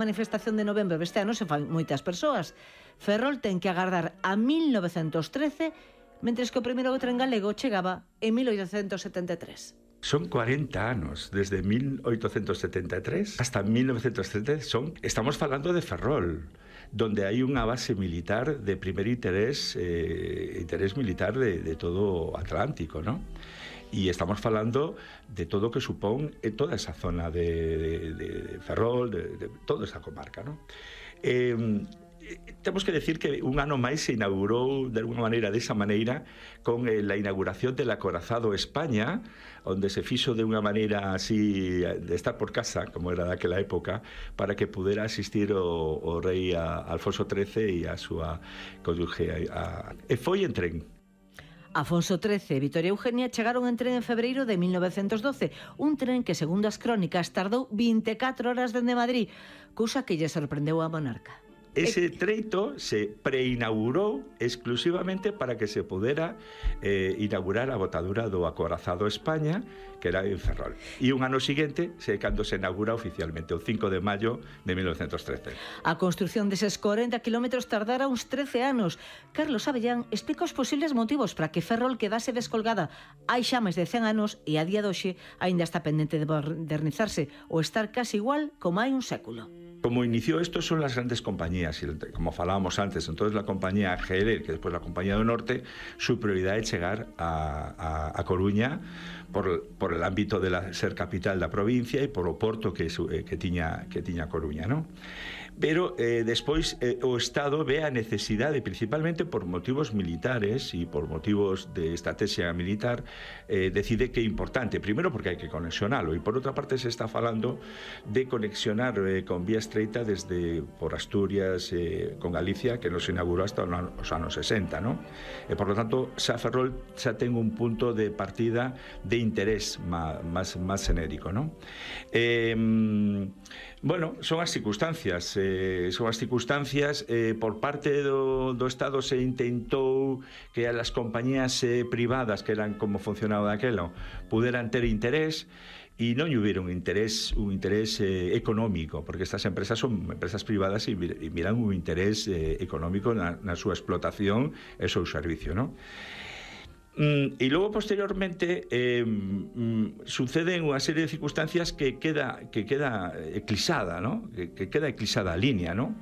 manifestación de novembro deste ano se fan moitas persoas. Ferrol ten que agardar a 1913, mentres que o primeiro tren galego chegaba en 1873. Son 40 anos, desde 1873 hasta 1933. Estamos falando de Ferrol, donde hai unha base militar de primer interés militar de todo o Atlántico, ¿no? Y estamos falando de todo o que supón toda esa zona de Ferrol, de toda esa comarca, ¿no? Temos que decir que un ano máis se inaugurou de alguna maneira, desa maneira, con la inauguración del acorazado España, onde se fixo de unha maneira así de estar por casa, como era daquela época, para que pudera asistir o rei Alfonso XIII e a súa cónyuge. E foi en tren. Afonso XIII e Vitoria Eugenia chegaron en tren en febreiro de 1912, un tren que, segundo as crónicas, tardou 24 horas dende Madrid, cousa que lle sorprendeu a monarca. Ese treito se preinaugurou exclusivamente para que se pudera inaugurar a botadura do acorazado España, que era en Ferrol. E un ano seguinte, cando se inaugura oficialmente, o 5 de maio de 1913. A construción deses 40 kilómetros tardara uns 13 anos. Carlos Avellán explica os posibles motivos para que Ferrol quedase descolgada hai xa máis de 100 anos e a día de hoxe aínda está pendente de modernizarse ou estar casi igual como hai un século. Como inició esto son las grandes compañías, como falábamos antes, entonces la compañía GL, que después la compañía do Norte, su prioridad es llegar a Coruña por el ámbito de ser capital da provincia e por o porto que tiña Coruña, ¿no? Pero despois o Estado ve a necesidade, principalmente por motivos militares e por motivos de estrategia militar, decide que é importante, primero porque hai que conexionalo, e por outra parte se está falando de conexionar con vía estreita por Asturias con Galicia, que nos inaugurou hasta os anos 60, ¿no? E por lo tanto, xa Ferrol xa ten un punto de partida de interés máis xenérico, ¿no? Bueno, son as circunstancias por parte do Estado se intentou que as compañías privadas, que eran como funcionaba daquelo, puderan ter interés, e non hubiera un interés económico, porque estas empresas son empresas privadas e miran un interés económico na súa explotación e seu servicio, ¿no? Y luego posteriormente suceden unha serie de circunstancias que queda eclipsada, ¿no? Que queda eclipsada a línea, ¿no?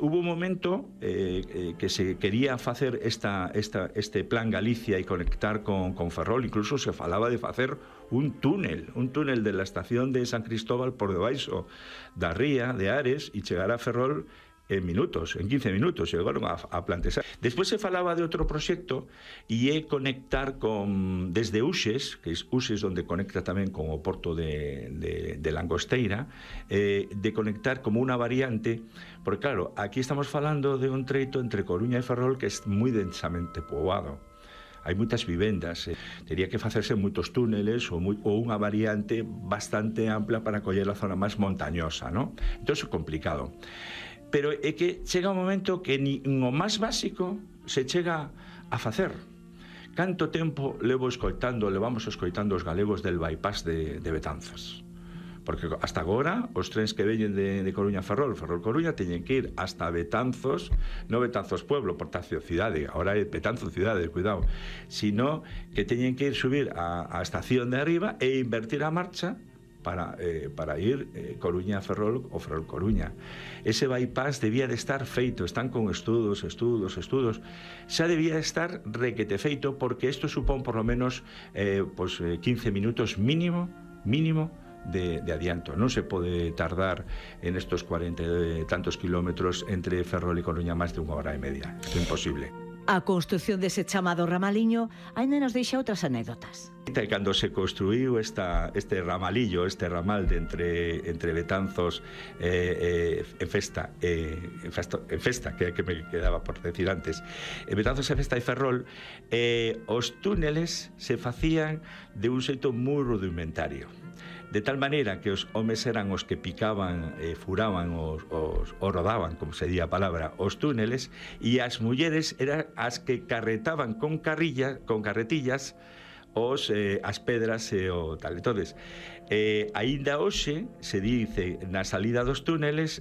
Hubo un momento que se quería facer este plan Galicia e conectar con Ferrol, incluso se falaba de facer un túnel de la estación de San Cristóbal por debaixo da ría de Ares e chegar a Ferrol en 15 minutos, chegaron a plantear. Despois se falaba de outro proxecto e é conectar desde Uxes, que é Uxes onde conecta tamén con o porto de Langosteira, de conectar como unha variante, porque claro, aquí estamos falando de un treito entre Coruña e Ferrol que é moi densamente poboado. Hai moitas vivendas, tería que facerse moitos túneles ou unha variante bastante ampla para coller a zona máis montañosa, ¿no? Entón é complicado. Pero é que chega un momento que ni o máis básico se chega a facer. Canto tempo levamos escoitando os galegos del bypass de Betanzos? Porque hasta agora os trens que veñen de Coruña a Ferrol, Ferrol-Coruña, teñen que ir hasta Betanzos, non Betanzos Pueblo, Portacio Cidade, agora é Betanzos Cidade, cuidado, sino que teñen que ir subir a estación de arriba e invertir a marcha para ir Coruña a Ferrol ou Ferrol-Coruña. Ese bypass debía de estar feito, están con estudos, xa debía de estar requete feito, porque isto supón por lo menos 15 minutos mínimo de adianto. Non se pode tardar en estos 40 e tantos kilómetros entre Ferrol e Coruña máis de 1 hora e media. É imposible. A construción dese chamado ramaliño aínda nos deixa outras anécdotas. Cando se construiu este ramalillo, este ramal de entre Betanzos en Festa, que me quedaba por decir antes, Betanzos, Festa e Ferrol, os túneles se facían de un xeito moi rudimentario, de tal maneira que os homes eran os que picaban, furaban o rodaban, como se di a palabra, os túneles, e as mulleres eran as que carretaban con carretillas as pedras e o tal. Entonces, aínda hoxe se dice na salida dos túneles